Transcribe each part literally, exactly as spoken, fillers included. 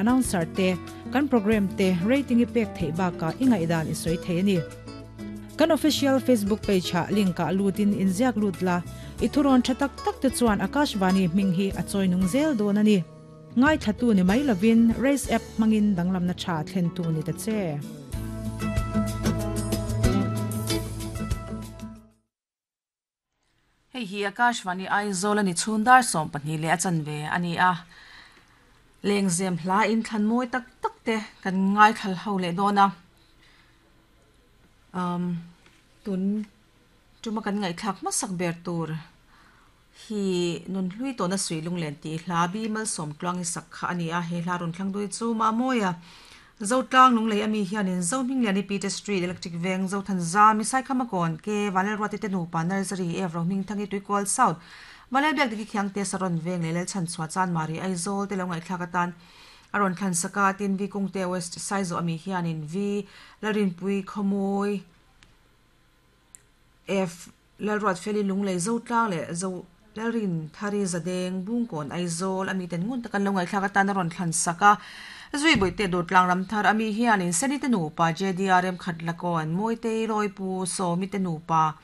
announcer te kan program te rating i pek thei baka ingai dan i soi thei ani. Kan official Facebook page ha link a lutin inziak lut la i thuron thatak tak te chuan Akashvani hming hi a choinung zel don ani. Ngai thatu ni mai lovin race app mangin danglam na tha thlen tu ni ta che. Hei hi Akashvani Aizawl ani chhundar som pahnih leh a chanve ani a lengzem hla in thlan mawi tak tak te kan ngai thal ho leh dawn a um tun tuma kan ngai thlak hmasak ber tur hi nun hlui tawna sui lunglen ti hla bi malsawm tluang i sak kha ani a he hla rawn thlang dui chu ma mawia Zotlang lunglei ami hianin Zohmingliani Peter Street Electric Veng Zothan Zami Saikhamakon ke Vanel Ruati te nupa Nursery Evro Hmingthangi Tuikual South Vanel Biak Diki Khiang te Saron Veng leh Lel Chhan Chhuah Chan Mari Aizawl te lo ngaihthlak atan a rawn thlan saka tin V Kungte West Saizaw ami hianin V Lalrinpui Khawmawi F Lalruat Feli Lunglei Zotlang leh Zo Lalrin Thari Zadeng Bungkawn Aizawl ami ten ngun takan lo ngaihthlak atan a rawn thlan saka zui boite dawtlang ramthar ami hianin seni te nupa J D R M Khatlakon Mawitei Roipu Sawmi te nupa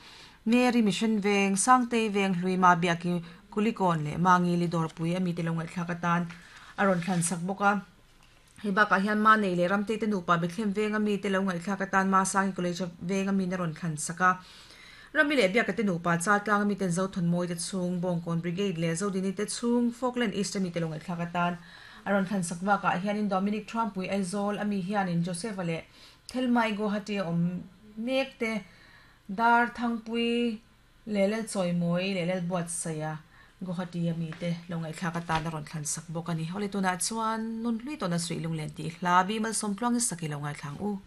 Mary Mission Veng Sangtei Veng Hluima Biaki Kulikon leh Mangi li Dawrpui ami te lo ngaihthlak atan a rawn thlan sak bawk a hei bakah hian ma nei leh Ramtei te nupa Bethlehem Veng ami te lo ngaihthlak atan Ma Sangi College Veng ami na rawn thlan sak a Rami leh Biaka te nupa Chaltlang ami ten Zothawn Mawi te chhung Bawngkawn Brigade leh Zodini te chhung Falkland East ami te lo ngaihthlak atan a rawn thlan sak bakah hianin Dominic Trumpui Aizawl ami hianin Joseph leh Thelmai Guwahati a awm mek te Dar Thangpui leh Lel Chawimawi leh Lel Buatsaia Guwahati ami te lo ngaihthlak atan a rawn thlan sak bawk ani. Awle tunah chuan nun hlui tawna sui lunglen ti hla bi malsawm tluang i sak i lo ngaithlang u.